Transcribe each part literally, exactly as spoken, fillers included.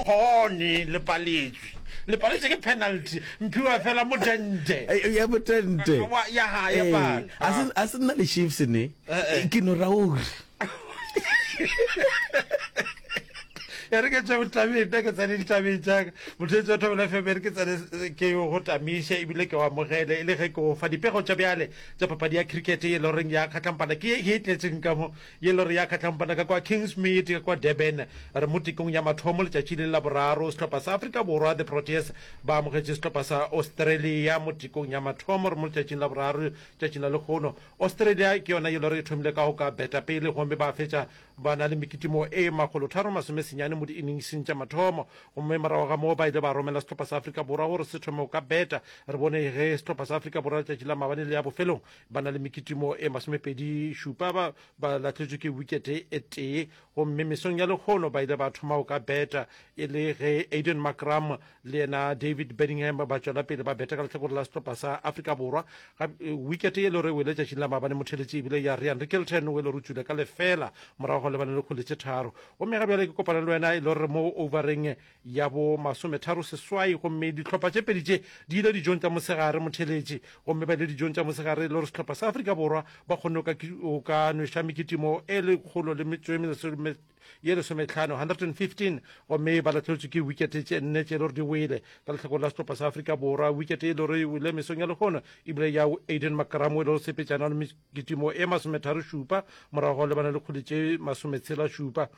kgone le paletšwe le paletšwe ke penalty mphiwa fela motente Eh, ya motente Wa- ya ha, ya Eh, pala. a se- a se nna le Chiefs ne Eh, eh. ke no ra ore e re ke tšwe botabeng nna ke tsene ditabeng tšaka motheetsi wa Thobela F M e re ke tsene ke go tamiše ebile ke o amogele e le ge ke go fa dipego tša bjale tša papadi ya cricket ye e le goreng ya kgatlampana ke ye e tletseng ka mo ye e le gore ya kgatlampana ka kwa Kingsmead ka kwa Durban re mo tekong ya mathomo letšatši le la boraro sehlopha sa Afrika Borwa the Proteas ba amogetše sehlopha sa Australia mo tekong ya mathomo re mo letšatšing la boraro letšatšing la lekgono Australia ke yona ye e le gore e thomile ka go ka beta pele gomme ba fetša ba na le mekitimo e makgolo tharo masome senyane mo di-inningseng tša mathomo gomme morago ga moo ba ile ba romela sehlopha sa Afrika Borwa gore se thome go ka beta re bone ge sehlopha sa Afrika Borwa letšatši la maabane le ya bofelong ba na le mekitimo e masomepedi šupa ba ba lahletšwe ke wikete e tee gomme mesong ya lekgono ba ile ba thoma go ka beta e le ge Aiden Markram le yena David Bedingham ba tšwela pele ba beta ka lehlakore la sehlopha sa Afrika Borwa wikete ye le gore e wele letšatšing la maabane motheletše ebile ya Ryan Rickelton o e le gore o tšwile ka lefela morago go lebane le kgwele tše tharo gomme ga bjale ke kopana le wena e le gore mo overeng ya bo masometharo seswai gomme dihlopha tše pedi tše di ile dijong tša mosegare motheletše gomme ba ile dijong tša mosegare e le gore sehlopha sa Afrika Borwa ba kgonne o ka nweša mekitimo e lekgolo le metšo e ye lesometlhano hundred and fifteen gomme ba lahlegetšwe ke wikete tše nne tše e le gore di wele ka lehlakore la sehlopha sa Afrika Borwa wikete e le gore e wele mesong ya lehono ebile ya Aiden Markram e le gore sepetšana le mekitimo e masometharo šupa morago ga lebana le kgwele tše masometshela šupa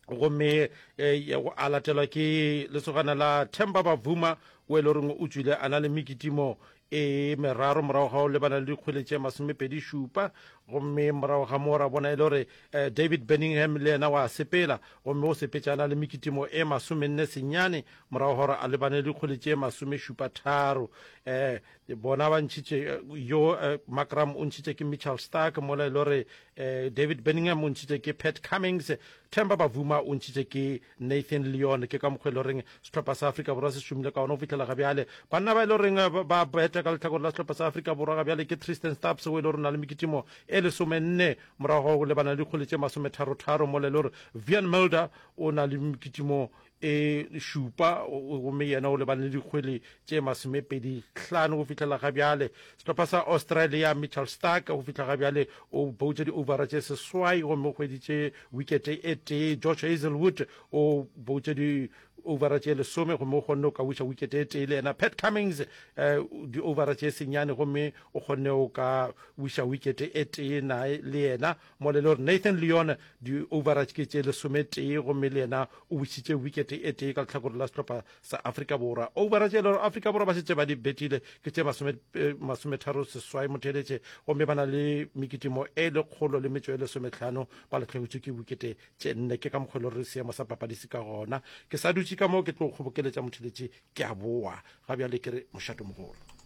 gomme eh, a latelwa ke lesogana la Themba Bavuma o e le goreng o tšwile a na le mekitimo e meraro morago ga o lebana le dikgwele tše masomepedi šupa gomme morago ga moo ra bona e le gore eh, David Bedingham le yena wa sepela gomme o sepetšana le mekitimo e masomenne senyane morago gore a lebane le dikgwele tše masomešupa tharo eh, bona ba ntšhitše eh, yo eh, Markram o ntšhitše ke Mitchell Starc mola e le gore eh, David Bedingham o ntšhitše ke Pat Cummings Themba Bavuma o ntšhitše ke Nathan Lyon ke ka mokgwa e le goreng sehlopha sa Afrika Borwa se šomile ka ona go fihlela ga bjale banna ba e le goreng eh, ba beta ka lehlakore la sehlopha sa Afrika Borwa ga bjale ke Tristan Stubbs o e le gore o na le mekitimo e lesomenne morago go lebana le dikgwele tše masometharotharo mola e le gore Wiaan Mulder o na le mekitimo e šupa gomme yena o lebane le dikgwele tše masomepedi hlano go fihlela ga bjale sehlopha sa Australia Mitchell Starc go fihla ga bjale o boutše di-overa tše seswai gomme o hweditše wikete e tee Josh Hazelwood o boutše di overa tše lesome gomme o kgonne o ka wiša wikete e tee le yena Pat Cummings eh, di-overa tše senyane gomme o kgonne o ka wiša wikete e tee nae le yena mola e le gore Nathan Lyon di-overa ke tše lesometee gomme le yena o wišitše wikete e tee ka lehlakore la sehlopha sa Afrika Borwa overa tše e le gore Afrika Borwa ba šetše ba di betile ke tše eh, masometharo seswai motheletše gomme ba na le mekitimo e lekgolo le metšo e lesometlhano ba lahlegetšwe ke wikete tše nne ke ka mokgwa e le gore seemo sa papadi se ka gona ke sa dutše ka moo ke tlo kgobokeletša motheletše ke a boa ga bjale ke re mošato mogolo.